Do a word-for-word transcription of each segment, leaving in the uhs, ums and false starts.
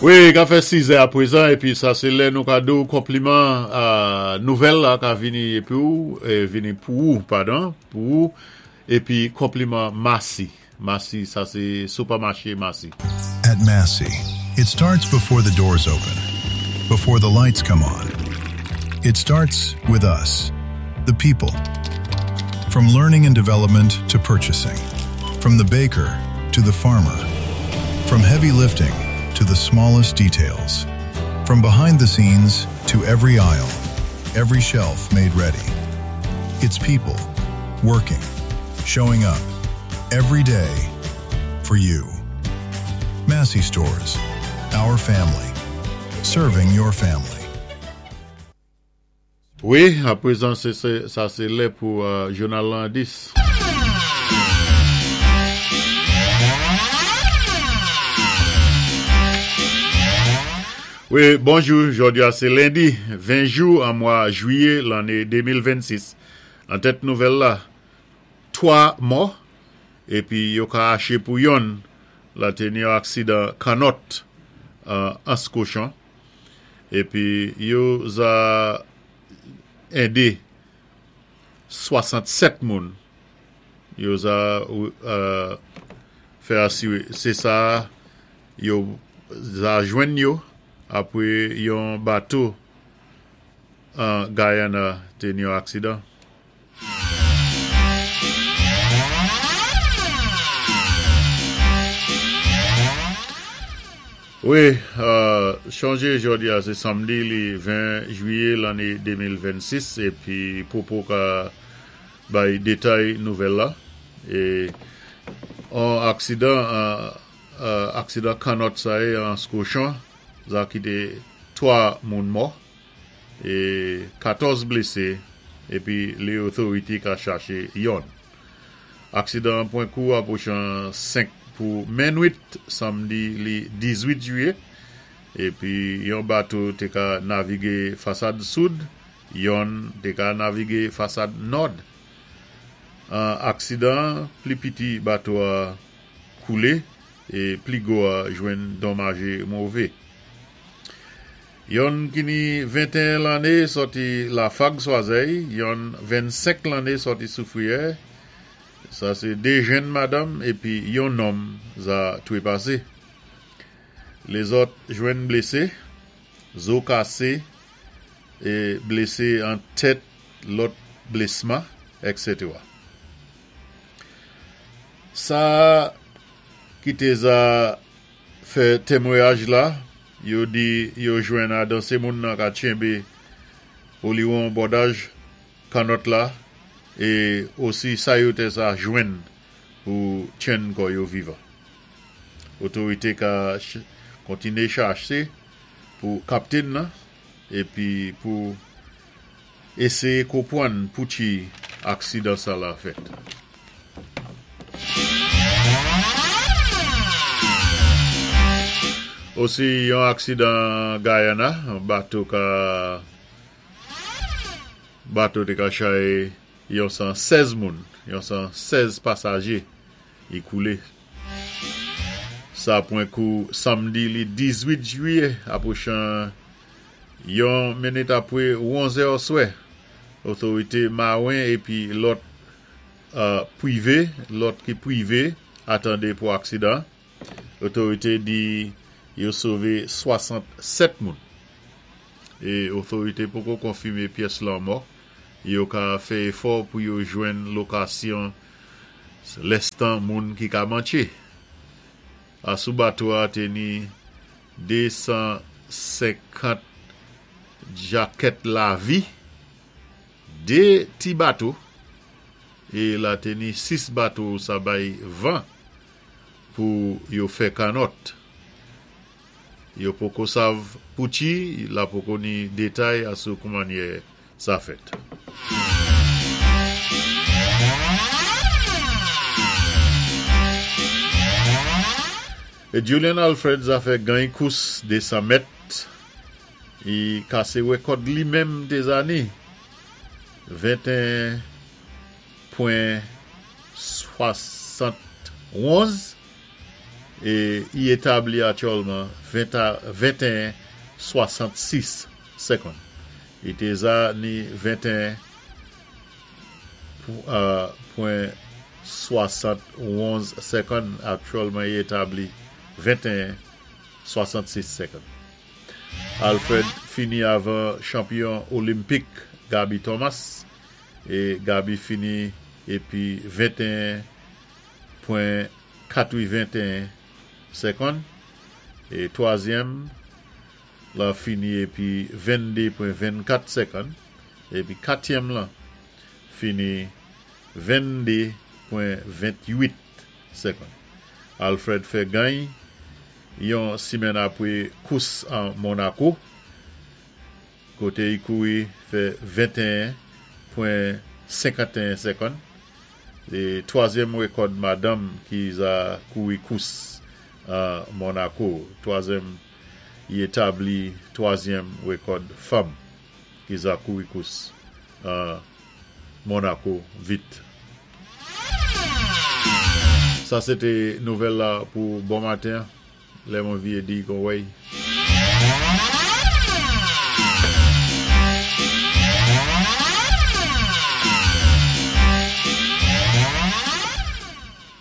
Wi, ka fè sis è apwézan, épi sa sé lè nou ka di-w konpliman a nouvèl la ka vini épi ou, é vini pou ou, padon, pou ou, épi konpliman Massy. Massy, sa sé sipèmaché Massy. At Massy, it starts before the doors open, before the lights come on. It starts with us, the people. From learning and development to purchasing, from the baker to the farmer, from heavy lifting to the smallest details, from behind the scenes to every aisle, every shelf made ready. It's people working, showing up every day for you. Massy Stores, our family, serving your family. Wi, apwézan, sé, sé, sa sé lè pou euh, jounal lan dis. Wi, bonjou, jòdi-a sé lendi, ven jou an mwa jwiyé lanné de mil vennsis. An tèt nouvèl la, twa mò, épi yo ka chaché pou yonn, la té ni yon aksidan kannòt euh, Anse Cochon. Épi yo za édé swasannsèt moun. Yo za euh, fè asiwé. Sé sa yo za jwenn yo apwé yon bato an Guyana té ni yon aksidan. Wi, euh, chonjé jòdi-a sé sanmdi li ven jwiyé lanné de mil vennsis épi Popo ka bay détay nouvèl la. É an aksidan euh, euh, aksidan kannòt sa é an Anse Cochon, za kité twa moun mò é katòz blésé épi lé otorité ka chaché yonn. Aksidan pwan kou apwochan senk pou minwit sanmdi li dizuit jwiyé épi yon bato té ka navigé fasad sid, yonn té ka navigé fasad nòd. An aksidan, pli piti bato-a koulé é pli gwo-a jwenn donmajé mové. Yonn ki ni venteyen lanné sòti Lafag Swazèy, yonn vennsenk lanné sòti Soufriyè, sa sé dé jenn madanm épi yon nonm za twépasé. Lézòt jwenn blésé, zo kasé, é blésé an tèt, lòt blésman, et setera. Sa ki té za fè témwayaj la, yo di yo jwenn adan sé moun nan ka tchenbé oliwon bòdaj kannòt la é osi sa yo té za jwenn pou tchenn kò yo vivan. Otorité ka kontiné chaché pou kaptèn nan épi pou éséyé konpwann pouchi aksidan sa la fèt. Osi yon aksidan Guyana, bato ka bato té ka chay yon san sèz moun, yon san sèz pasajé, i koulé. Sa pwan kou sanmdi li dizuit jwiyé apwochan yon minit apwé onz è oswè. Otorité mawen épi lòt euh, pwivé, lòt ki pwivé atandé pou aksidan. Otorité di yo sové swasannsèt moun. É otorité poko konfimé pyès lanmò. Yo ka fè éfò pou yo jwenn lokasyon lèstan moun ki ka mantché. Asou bato-a té ni de san senkant jakèt lavi, dé ti bato, é la té ni sis bato sa bay van pou yo fè kannòt. Yo poko sav pouchi, la poko ni détay asou koumannyè sa fèt. É Julian Alfred za fè gany kous de san mèt, i kasé wékòd li menm té za ni venteyen pwen swasannwonz É i établi aktyèlman venteyen swasannsis sékonn. I té za ni venteyen pwen swasannwonz sékonn, aktyèlman i établi venteyen swasannsis sékonn. Alfred fini avan chanpyon olenpik Gabby Thomas é Gabby fini épi venteyen pwen katreventeyen sékonn é twazyèm la fini épi vennde pwen vennkat sékonn épi katyèm la fini vennde pwen ventuit sékonn. Alfred fè gagn yon simenn apwé kous an Monako koté i kouri fè venteyen pwen senkanteyen sékonn é twazyèm wékòd madanm ki za kouri kous an Monako. Twazyèm, i établi twazyèm wékòd fanm ki za kouri kous an Monako vit. Sa sé té nouvèl la pou bon maten. Lè mwen vyé di kon wèy.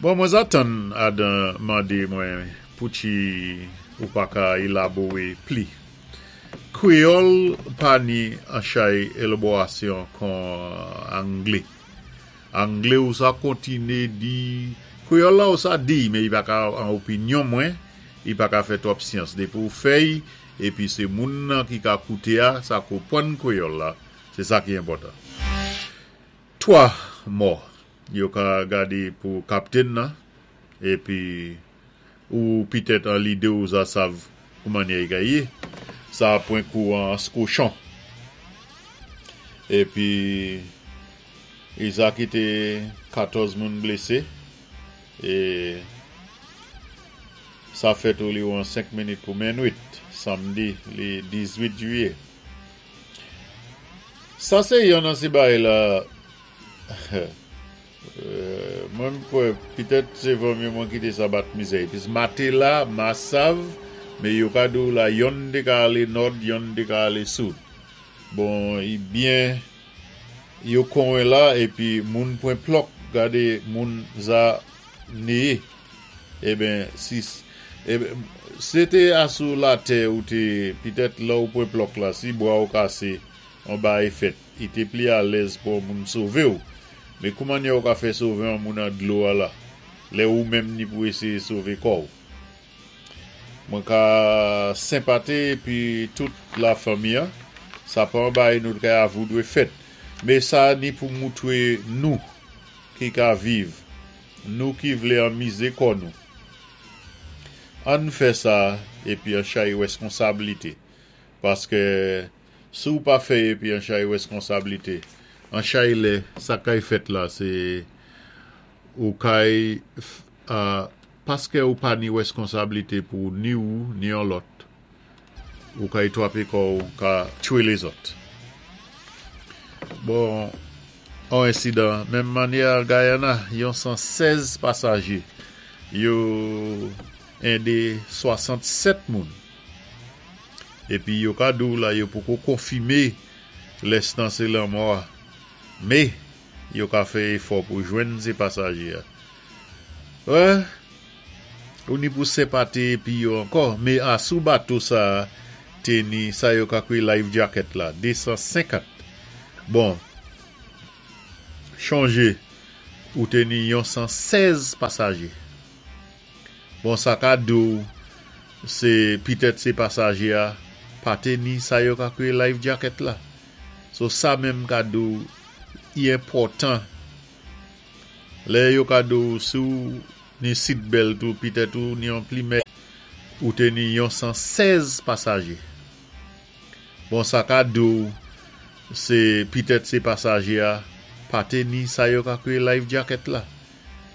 Bon, mwen za tann adan mandé mwen pouti ou pa ka élabowé pli. Kwéyòl pa ni an chay élabowasyon kon anglé. Anglé ou sa kontiné di, kwéyòl la ou sa di, mé i pa ka an opinyon mwen, i pa ka fè twòp syans. Dépi ou fè-y, épi sé moun nan ki ka kouté-a, sa konpwann kwéyòl la, sé sa ki enpòtan. Twa mò, yo ka gadé pou kaptèn nan, épi ou pitèt an lidé ou za sav koumannyè i ka yé. Sa pwen kou an Anse-Cochon. Épi, i za kité katòz moun blésé, é sa fèt ou li an senk minit pou minwit, samdi, li dizuit jwiyé. Sa sé yon nan si bay la, mwen kwè, pitèt sé vò mye mwen kité sa bat mizè. Pis matela, ma sav, mé yo ka di la yonn té ka alé nòd, yonn té ka alé soud. Bon, i byen, yo konwen la, épi moun pwen plòk, gadé moun za néyé. Eben, si, eben, sé té asou latè ou té, pitèt la ou pwen plòk la, si bwa ou kasé, an bay fèt, i té pli alèz pou moun sové ou. Mé koumannyè ou ka fè sové an moun an dlo a la, lè ou menm ni pou éséyé sové kò ou. Mwen ka senpaté épi tout la fanmi an, sa pa an bay nou ka avou dwé fèt. Mé sa ni pou moutwé nou ki ka viv, nou ki vlé anmizé kò nou. Ann fè sa épi an chay wèskonsablité. Paské si ou pa fè épi an chay wèskonsablité, an chay lè, sa kay fèt la, sé ou kay, uh, paské ou pa ni wèskonsablité pou ni ou, ni an lòt, ou kay twapé kò ou ka tchwé lézòt. Bon, an ensidan, menm mannyè Guyana, yon san sèz pasajé, yo édé swasannsèt moun. Épi yo ka di ou la yo poko konfimé lèstan sé lanmò a. Mé, yo ka fè éfò pou jwenn sé pasajé a. Wè, ou ni pou senpaté épi yo ankò, mé asou bato sa té ni sa yo ka kwé life jacket la, de san senkant. Bon, chonjé, ou té ni yon san sèz pasajé. Bon, sa ka di ou, sé pitèt sé pasajé a, pa té ni sa yo ka kwé life jacket la. So sa menm ka di ou, i enpòtan. Lè yo ka di ou si ou ni seatbelt ou pitèt ou ni an plimè, ou té ni yon san sèz pasajé. Bon, sa ka di ou, sé pitèt sé pasajé a, pa té ni sa yo ka kwé life jacket la.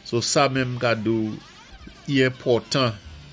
So sa menm ka di ou, i enpòtan.